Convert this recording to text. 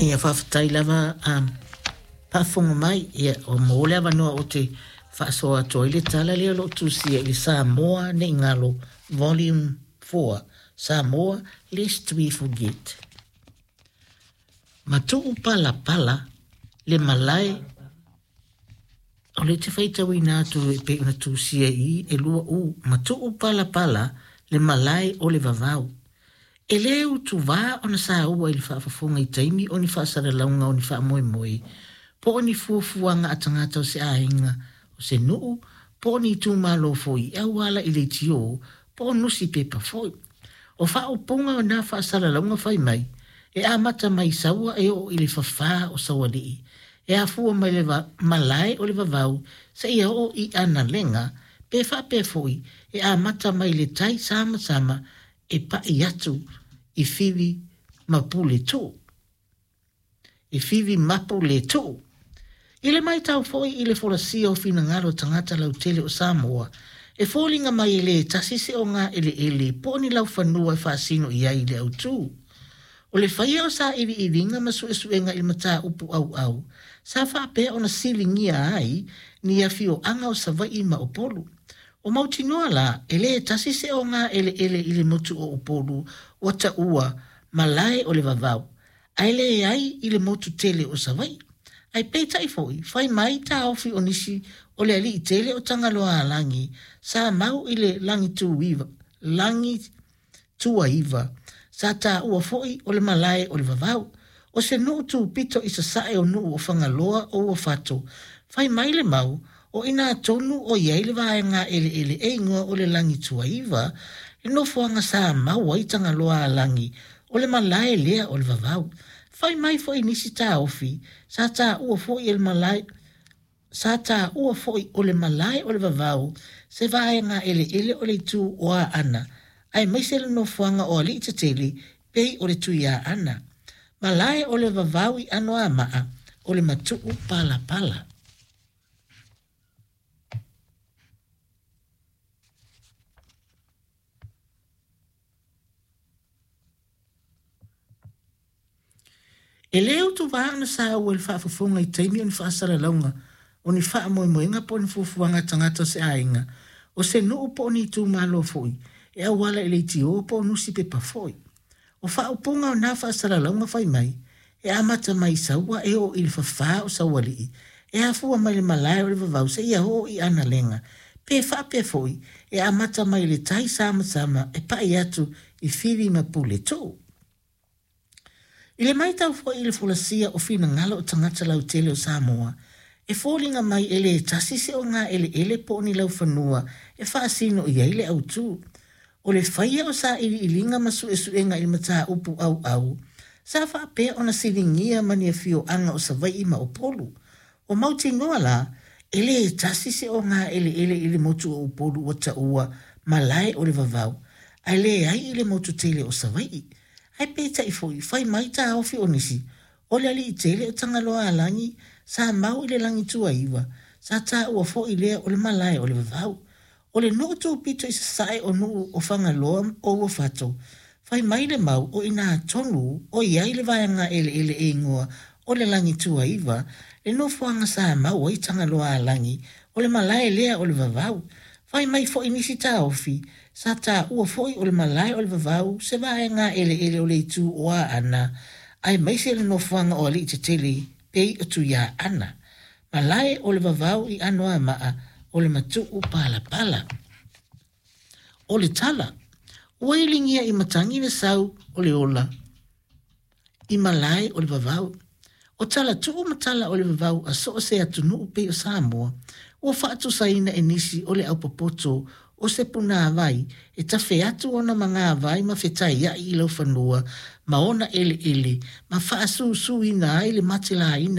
Ia faafetai lava faafofoga mai, ia ua maua le avanoa ou te faasoa atu ai le tala lea o lo o tusia i le Samoa Ne i Galo Volume 4, Samoa Lest We Forget. Matuu palapala le malae O lea te faitauina atu e pei ona tusia i i e lua u, matuu palapala le malae o le vavau. E lē utuvā ona saua i le faafofoga i taimi o ni faasalalauga o ni faamoemoe, po o ni fuafuaga a tagata o se aiga, o se nuu, po o ni itumalo foi e auala i leitio po o nusipepa foi. O faaupuga o na faasalalauga fai mai, e amata mai i Saua e oo i le fafā o Saualii, e afua mai le malae o le vavau seia oo i Analega, pe faapea foi, e amata mai le tai samasama e pai atu i Fivi ma Puletuu. I Fivi mapu le tuu. I le maitau foi i le folasia o finagalo o tagata lautele o Samoa, e foliga mai e le tasi se ogaeleele po o ni laufanua e faasino i ai le autū. O le faia o sailiiliga ma suesuega i le mataupu auau, sa faapea ona siligia ai ni afioaga o Savaii ma Upolu. Ua mautinoa la, e le tasi se ogaeleele i le motu o Upolu ua taua malae o le vavau, ae leai i le motu tele o Savaii. Ae peitai foi, fai mai taofi o nisi o le alii tele o Tagaloaalagi sa mau i le Lagituiva, Lagituaiva, sa taua foi o le malae o le vavau. O se nuu tupito i sasae o nuu o Fagaloa o Uafato. Fai mai le mau, o inā tonu o i ai le vaega eleele e igoa o le Lagituaiva, le nofoaga sa mau ai Tagaloaalagi, o le malae lea o le vavau. Fai mai foi nisi taofi, sa taua foi e le malae, sa taua foi o le malae o le vavau se vaega eleele o le itu o Aana, aemaise le nofoaga o alii tetele pei o le Tuiaana. Malae o le vavau i Anoamaa, o le matuu palapala. E lē utuvā ona saua i le faafofoga i taimi o ni faasalalauga, o ni faamoemoega po o ni fuafuaga a tagata o se aiga, o se nuu po o ni itumalo foi, e auala i leitio po o nusipepa foi. O faaupuga o na faasalalauga fai mai, e amata mai i Saua e oo i le fafā o Saualii, e afua mai le malae o le vavau seia oo i Analega, pe faapea foi, e amata mai le tai samasama e pai atu i Fili ma Puletuu. I le maitau foi i le folasia o finagalo o tagata lautele o Samoa, e foliga mai e le tasi se ogaeleele po o ni laufanua e faasino i ai le autū. O le faia o sailiiliga ma suesuega i le mataupu auau, sa faapea ona siligia ma ni afioaga o Savaii ma Upolu. Ua mautinoa la, e le tasi se ogaeleele i le motu o Upolu ua taua malae o le vavau, ae leai i le motu tele o Savaii. Ae peitai foi, fai mai taofi o nisi, o le alii tele o Tagaloaalagi sa mau i le Lagituaiva, sa taua foi lea o le malae o le vavau. O le nuu tupito i sasae o nuu o Fagaloa o Uafato, fai mai le mau o inā tonu o i ai le vaega eleele e igoa o le Lagituaiva, le nofoaga sa mau ai Tagaloaalagi, o le malae lea o le vavau. Fai mai foi nisi taofi, sa taua foi o le malae o le vavau se vaega eleele o le itu o Aana, aemaise le nofoaga o alii tetele pei o Tuiaana. Malae o le vavau i Anoamaa o le matuu palapala. O le tala, ua iligia i matagi le sau o le ola i malae o le vavau. O tala tuu ma tala o le vavau a so o se atunuu pei o Samoa, ua faatusaina e nisi o le aupopoto o se punāvai e tafe atu ona magavai ma fetaiai i laufanua ma ona eleele ma faasusūina ai le matelaina o